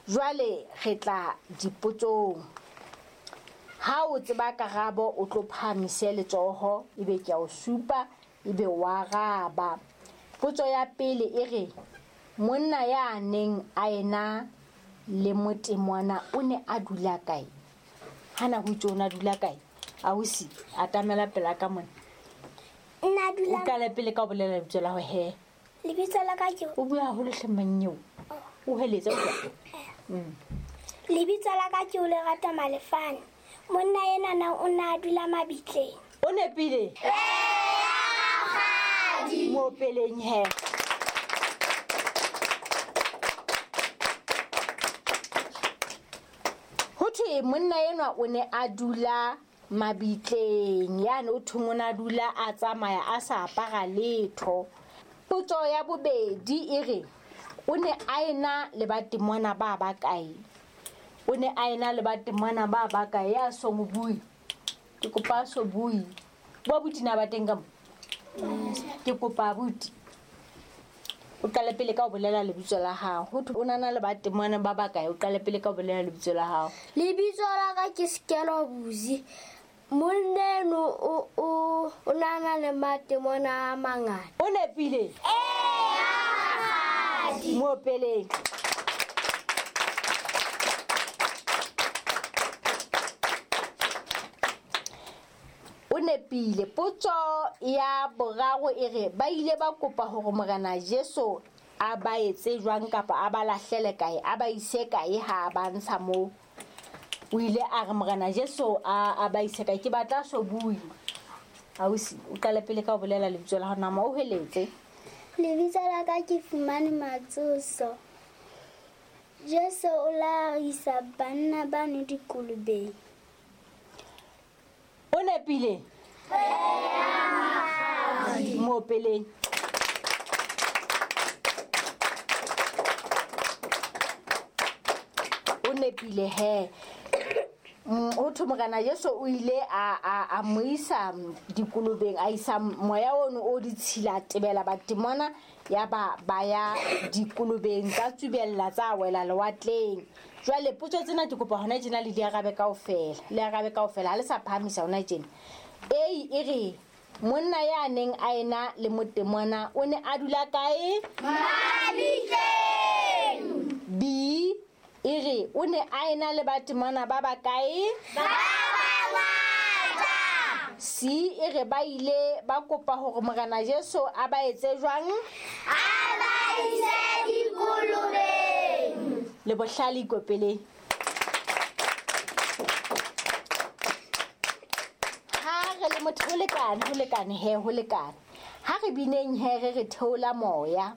Jwale re tla dipotsong. Ha o tseba karabo o tlo phahamise letsoho ebe ke a o supa ebe wa araba. Potso ya pele e re monna ya neng a ena le motemona o ne a dula kae? Hana ho itse o ne a dula kae? Ausi atamela pela ka mona. Nna dula. O qale pele ka ho bolela lebitso la ho he. Lebitso la ka ke O bua haholo hle manyeo. O heletse o bua. Lebitso la ka ke o Lerato Malefane. Monna enana o ne a dula mabitleng. O nepile? Mo peleng he. Ho thwe monna enwa o ne a dula mabitleng yane o thong o ne a dula a tsamaya a sa apara letho. Potso ya bobedi e re o ne a ena le batemona ba bakae? O ne a ena le batemona ba bakae? Ya so mo bue. Ke kopa a so bue. Bo abuti na ba teng ka mo? Ke kopa abuti. O qale pele ka ho bolela lebitso la hao. Ho thwe o na le batemona ba bakae? O qale pele ka ho bolela lebitso la hao. Lebitso la ka ke Sekelo Buzi. Monna eno o o o na na le matemona a mangata. O nepile? Mo peleng. O nepile. Potso ya boraro e re ba ile ba kopa hore Morena Jesu a ba etse jwang kapa a ba lahlele kae, a ba ise kae ha a ba ntsha moo. O ile a re Morena Jesu a ba ise kae. Ke batla so bue. Ausi, o qale pele ka ho bolela lebitso la hao, nama o heletse. Lebitso la ka ke Fumane Matsoso. Jesu o la isa banna bano dikolobeng. O nepile? Mo peleng. O nepile he. Ho thwe Morena Jesu o ile a mo isa dikolobeng, a isa moya ono o ditshila tebela batemona ya ba ba ya dikolobeng tsa tsubella tsa wela lewatleng. Jwale potso tsena ke kopa hona tjena le di arabe kaofela. Le arabe kaofela ha le sa phahamisa hona tjena. A e re monna ya neng a ena le motemona o ne a dula kae? Mabitleng. B e re o ne a ena le batemona ba bakae? Ba bangata. C e re ba ile ba kopa hore Morena Jesu a ba etse jwang? A ba ise dikolobeng. Le bohlale ikopeleng. Ha re le motho ho lekane, ho lekane he, ho lekane. Ha re bineng he re re theola moya.